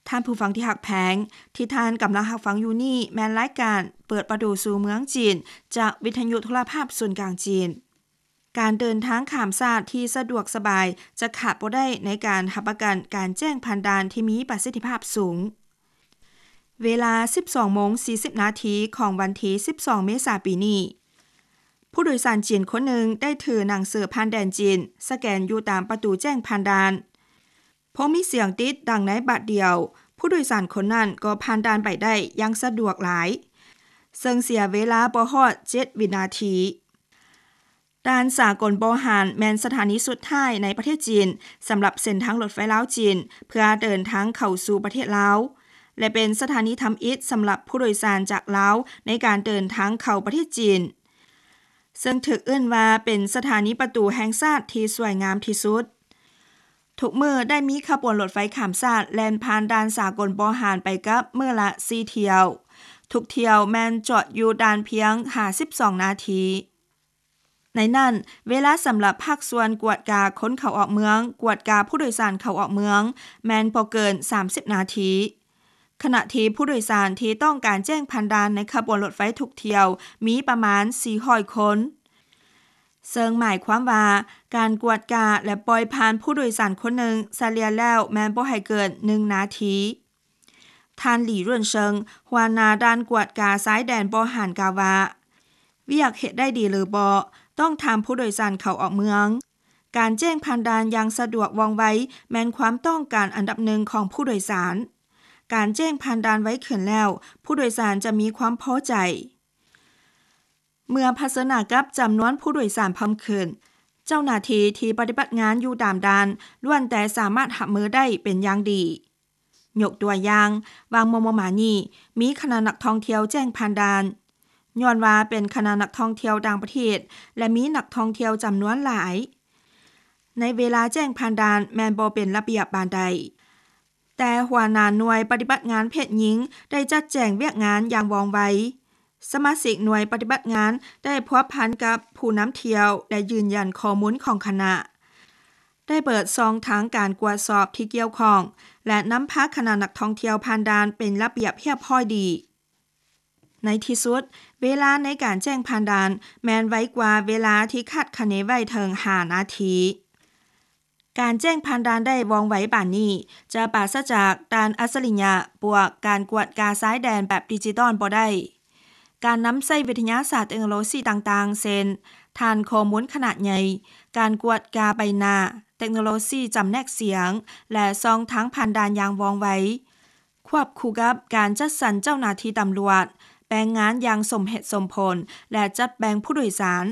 ທ່ານຜູ້ຟັງທີ່ຮັກແພງ, ທີ່ທ່ານກຳລັງຮັບຟັງຢູ່ນີ້ແມ່ນລາຍການເປີດປະຕູສູ່ເມືອງຈີນ ຈາກວິທະຍຸໂທລະພາບສູນກາງຈີນ. ການເດີນທາງຂ້າມຊາດທີ່ສະດວກສະບາຍຈະຂາດບໍ່ໄດ້ໃນການຮັບປະກັນການແຈ້ງຜ່ານດ່ານທີ່ມີປະສິດທິພາບສູງ. ເວລາສິບສອງໂມງສີ່ສິບນາທີຂອງວັນທີສິບສອງເມສາປີນີ້, ຜູ້ໂດຍສານຈີນຄົນໜຶ່ງໄດ້ຖືໜັງສືຜ່ານແດນຈີນສະແກນຢູ່ຕາມປະຕູແຈ້ງຜ່ານດ່ານ. ພໍມີສຽງຕີດດັງໃນບາດດຽວ, ຜູ້ໂດຍສານຄົນນັ້ນກໍຜ່ານດ່ານໄປໄດ້ຢ່າງສະດວກຫຼາຍ, ເຊິ່ງເສຍເວລາບໍ່ຮອດເຈັດວິນາທີ. ດ່ານສາກົນບໍ່ຮານແມ່ນສະຖານີສຸດທ້າຍໃນປະເທດຈີນ ສຳລັບເສັ້ນທາງລົດໄຟລາວ-ຈີນ ເພື່ອເດີນທາງເຂົ້າສູ່ປະເທດລາວ ແລະ ເປັນສະຖານີທຳອິດສຳລັບຜູ້ໂດຍສານຈາກລາວໃນການເດີນທາງເຂົ້າປະເທດຈີນ, ເຊິ່ງຖືກເອີ້ນວ່າເປັນສະຖານີປະຕູແຫ່ງຊາດທີ່ສວຍງາມທີ່ສຸດ. ທຸກມື້ໄດ້ມີຂະບວນລົດໄຟຂ້າມຊາດແລ່ນຜ່ານດ່ານສາກົນບໍ່ຮານໄປກັບມື້ລະສີ່ຖ້ຽວ. ທຸກຖ້ຽວແມ່ນຈອດຢູ່ດ່ານພຽງຫ້າສິບສອງນາທີ. ໃນນັ້ນ, ເວລາສຳລັບພາກສ່ວນກວດກາຄົນເຂົ້າອອກເມືອງ, ກວດກາຜູ້ໂດຍສານເຂົ້າອອກເມືອງ ແມ່ນບໍ່ເກີນສາມສິບນາທີ, ຂະນະທີ່ຜູ້ໂດຍສານທີ່ຕ້ອງການແຈ້ງຜ່ານດ່ານໃນຂະບວນລົດໄຟທຸກຖ້ຽວມີປະມານສີ່ຮ້ອຍຄົນ, ເຊິ່ງໝາຍຄວາມວ່າການກວດກາ ແລະ ປ່ອຍຜ່ານຜູ້ໂດຍສານຄົນໜຶ່ງສະເລ່ຍແລ້ວແມ່ນບໍ່ໃຫ້ເກີນໜຶ່ງນາທີ. ທ່ານ ຫຼີ ເຣືອນເຊິງ ຫົວໜ້າດ່ານກວດກາຊາຍແດນບໍ່ຮານ ກ່າວວ່າ, ວຽກເຮັດໄດ້ດີຫຼືບໍ່ ຕ້ອງຖາມຜູ້ໂດຍສານເຂົ້າອອກເມືອງ. ການແຈ້ງຜ່ານດ່ານຢ່າງສະດວກວ່ອງໄວ ແມ່ນຄວາມຕ້ອງການອັນດັບໜຶ່ງຂອງຜູ້ໂດຍສານ. ການແຈ້ງຜ່ານດ່ານໄວຂຶ້ນແລ້ວ, ຜູ້ໂດຍສານຈະມີຄວາມພໍໃຈ. ເມື່ອຜະເຊີນໜ້າກັບຈຳນວນຜູ້ໂດຍສານເພີ່ມຂຶ້ນ, ເຈົ້າໜ້າທີ່ທີ່ປະຕິບັດງານຢູ່ຕາມດ່ານ ລ້ວນແຕ່ສາມາດຮັບມືໄດ້ເປັນຢ່າງດີ. ຍົກຕົວຢ່າງ, ຫວ່າງມໍ່ໆມານີ້, ມີຄະນະນັກທ່ອງທ່ຽວແຈ້ງຜ່ານດ່ານ, ຍ້ອນວ່າເປັນຄະນະນັກທ່ອງທ່ຽວຕ່າງປະເທດ ແລະ ມີນັກທ່ອງທ່ຽວຈຳນວນຫຼາຍ. ໃນເວລາແຈ້ງຜ່ານດ່ານແມ່ນບໍ່ເປັນລະບຽບປານໃດ, ແຕ່ຫົວໜ້າໜ່ວຍປະຕິບັດງານເພດຍິງໄດ້ຈັດແຈງວຽກງານຢ່າງວ່ອງໄວ. ສະມາຊິກໜ່ວຍປະຕິບັດງານໄດ້ພົວພັນກັບຜູ້ນຳທ່ຽວ ແລະ ຢືນຢັນຂໍ້ມູນຂອງຄະນະ, ໄດ້ເປີດຊ່ອງທາງການກວດສອບທີ່ກ່ຽວຂ້ອງ ແລະ ນຳພາຄະນະນັກທ່ອງທ່ຽວຜ່ານດ່ານເປັນລະບຽບຮຽບຮ້ອຍດີ. ໃນທີ່ສຸດ, ເວລາໃນການແຈ້ງຜ່ານດ່ານແມ່ນໄວກວ່າເວລາທີ່ຄາດຄະເນໄວ້ເຖິງຫ້ານາທີ. ການແຈ້ງຜ່ານດ່ານໄດ້ວ່ອງໄວປານນີ້ ຈະປາສະຈາກດ່ານອັດສະລິຍະບວກການກວດກາຊາຍແດນແບບດິຈິຕອນບໍ່ໄດ້. ການນຳໃຊ້ວິທະຍາສາດເຕັກໂນໂລຊີຕ່າງໆ ເຊັ່ນ ຖານຂໍ້ມູນຂະໜາດໃຫຍ່, ການກວດກາໃບໜ້າ, ເຕັກໂນໂລຊີຈຳແນກສຽງ ແລະ ຊ່ອງທາງຜ່ານດ່ານຢ່າງວ່ອງໄວ, ຄວບຄູ່ກັບການຈັດສັນເຈົ້າໜ້າທີ່ຕຳຫຼວດ, ແບ່ງງານຢ່າງສົມເຫດສົມຜົນ ແລະ ຈັດແບ່ງຜູ້ໂດຍສານ,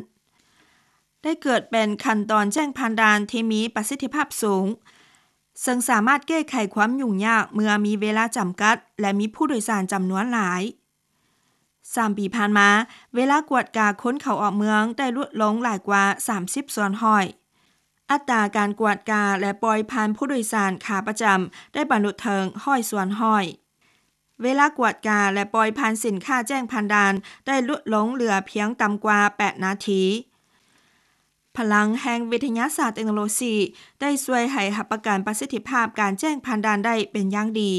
ໄດ້ເກີດເປັນຂັ້ນຕອນແຈ້ງຜ່ານດ່ານທີ່ມີປະສິດທິພາບສູງ, ເຊິ່ງສາມາດແກ້ໄຂຄວາມຫຍຸ້ງຍາກເມື່ອມີເວລາຈຳກັດ ແລະ ມີຜູ້ໂດຍສານຈຳນວນຫຼາຍ. ສາມປີຜ່ານມາ, ເວລາກວດກາຄົນເຂົ້າອອກເມືອງໄດ້ຫຼຸດລົງຫຼາຍກວ່າສາມສິບສ່ວນຮ້ອຍ. ອັດຕາການກວດກາ ແລະ ປ່ອຍຜ່ານຜູ້ໂດຍສານຂາປະຈຳໄດ້ບັນລຸເຖິງຮ້ອຍສ່ວນຮ້ອຍ. ເວລາກວດກາ ແລະ ປ່ອຍຜ່ານສິນຄ້າແຈ້ງຜ່ານດ່ານໄດ້ຫຼຸດລົງເຫຼືອພຽງຕ່ຳກວ່າແປດນາທີ. ພະລັງແຫ່ງວິທະຍາສາດເຕັກໂນໂລຊີໄດ້ຊ່ວຍໃຫ້ຮັບປະກັນປະສິດທິພາບການແຈ້ງຜ່ານດ່ານໄດ້ເປັນຢ່າງດີ.